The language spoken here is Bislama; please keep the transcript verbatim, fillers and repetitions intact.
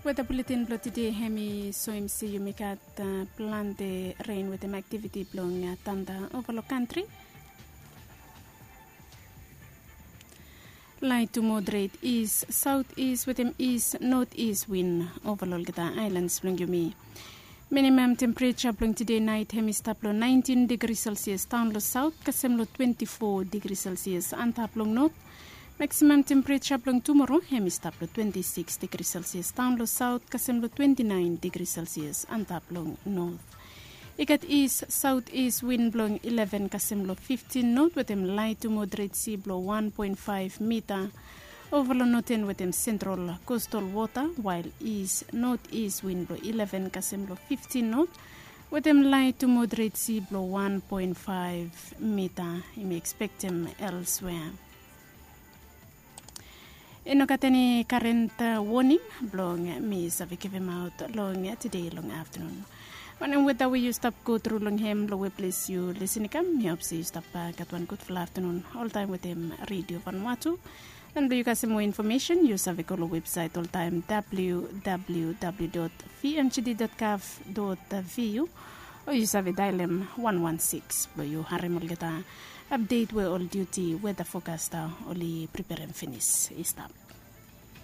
Weta buletin blong tide hem i soem se yumi gat plante ren wetem aktiviti blong tanda ova long kantri. Lait tu moderet is saut is wetem is not is win ova long olgeta ailans blong yumi. Minimam tempereja blong tide nait hem i stap long naentin digri selsias daon long saut kasem long twenti fo digri selsias antap long not. Maksimam tempereja blong tumoro hem i stap long twenti sikis digri selsias daon long saut kasem long twenti naen digri selsias antap long not. I gat is saut is win blong ileven kasem long fiftin not wetem lait tu moderet si blong wan poen faef mita ova long noten wetem sentral kostal wota, wael is not is win blong ileven kasem long fiftin not wetem lait tu moderet si blong wan poen faef mita. Yumi ekspektem elswea. I no gat eni karent woning blong mi save givimaot long tide long aftanun. Wanem weta we yu stap go tru long hem long we ples yu lisin i kam, mi hop se yu stap gat wan gudfala aftanun oltaem wetem redio vanwatu. And blong yu kasem moa infomesen yu save go long websaet oltaem www dot vmgd dot gov dot vu, o yu save daelem wan wan sikis blong yu harem olgeta apdet we ol diuti weta fokasta oli priperem finis i stap.